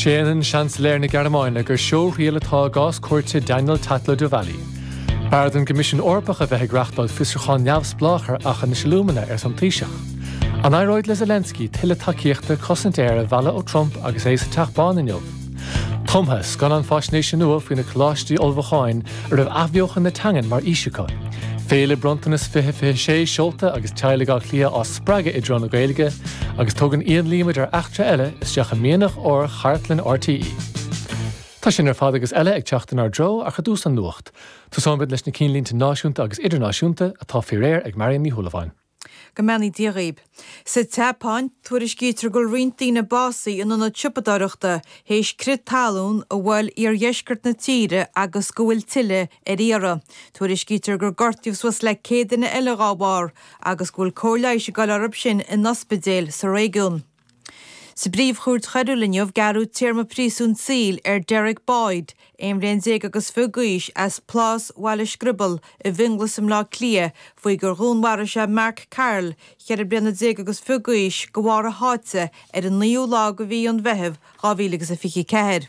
Séanann Seansailéir na Gearmáine gur seóthriail atá i gcás cúirte Daniel Tatlow Delvalle. B'fhearr don gCoimisiún Eorpach a bheith ag reachtáil fiosrúchán neamhspleách ar Aughinish Alumina, arsa an Taoiseach. An éireoidh le Zelensky tuilleadh tacaíochta cosaint aeir a mhealladh ó Trump agus é sa Teach Bán inniu? Tumtha, scannán faisnéise nua faoi na coláistí ullmhúcháin a raibh athbheochan na teangan mar fhís acu. Féile Bronntanas 2026 seolta agus teaghlaigh Átha Cliath á spreagadh i dtreo na Gaeilge, agus tugann Ian Lee muid ar eachtra eile isteach i mianach óir chartlann RTÉ. Tá sin ar fad agus eile ag teacht inár dtreo ach i dtús an nuacht. Tosóimid leis na cinnlínte náisiúnta agus idirnáisiúnta atá faoi réir ag Marion Ní Shúilleabháin. Go mbeannaí Dia dhaoib. Sa tSeapáin, tuairiscítear go bhfuil roinnt daoine básaithe in ionad siopadóireachta théis crith talún a bhuail iardheisceart na tíre agus go bhfuil tuilleadh ar iarraidh. Tuairiscítear gur gortaíodh suas le 100 duine eile dhá bharr agus go bhfuil cóir leighis ag dul orthu sin in ospidéil sa réigiún. Sa bPríomh-Chúirt Choiriúil inniu, gearradh téarma príosúin saoil ar Derek Boyd, 21 bhliain agus fiche d'aois, as Plás Bhaile Scriobail i bhFionnghlas i mBleá Cliath, faoi gur dhúnmharaigh sé Mark Carroll, 14 bliana agus fiche d'aois, de bharr a sháite ar an naoú lá de mhí an Mheithimh 2024.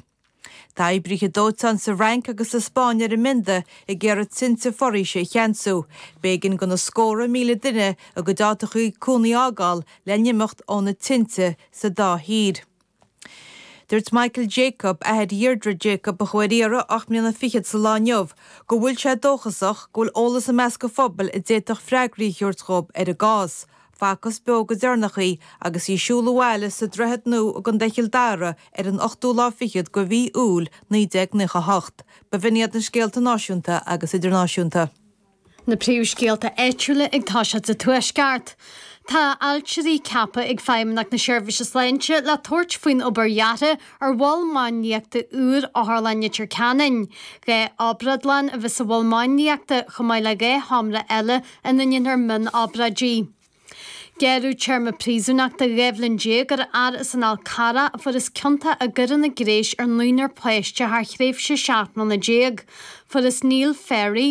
Tá oibrithe dóiteáin sa Fhrainc agus sa Spáinn ar a mbionda ag iarraidh tinte foraoise a cheansú. B'éigean do na scórtha míle duine a gcuid áiteachaí cónaí a fhágáil le n-imeacht ó na tinte sa dá thír. Dúirt Michael Jacob, athair Dheirdre Jacob a chuaigh ar iarraidh 8 mbliana fichead sa lá inniu, go bhfuil sé dóchasach go bhfuil eolas i measc an phobail a d'fhéadfadh freagraí a thabhairt dhóibh ar an gcás. Facthas beo go deireanach í agus í ag siúl abhaile sa Droichead Nua i gContae Chill Dara ar an ochtú lá fichead de mhí Iúil 1998. B'in iad na scéalta náisiúnta agus idirnáisiúnta. Na príomhscéalta áitiúla ag toiseacht sa Tuaisceart. Tá ailtirí ceaptha ag Feidhmeannacht na Seirbhíse Sláinte le tabhairt faoin obair dheartha ar mhol máinliachta úr Otharlann Leitir Ceanainn. 2 obrádlann a bheas sa mhol máinliachta chomh maith le 2 sheomra eile ina ndéanfar mionobráidí. Gearradh téarma príosúnachta 12 bhliain ar fhear as an Fhál Carrach a fuarthas ciontach i gcoireanna gnéis ar naonúr páiste thar thréimhse 17 mbliana. Fuarthas Neil Ferry.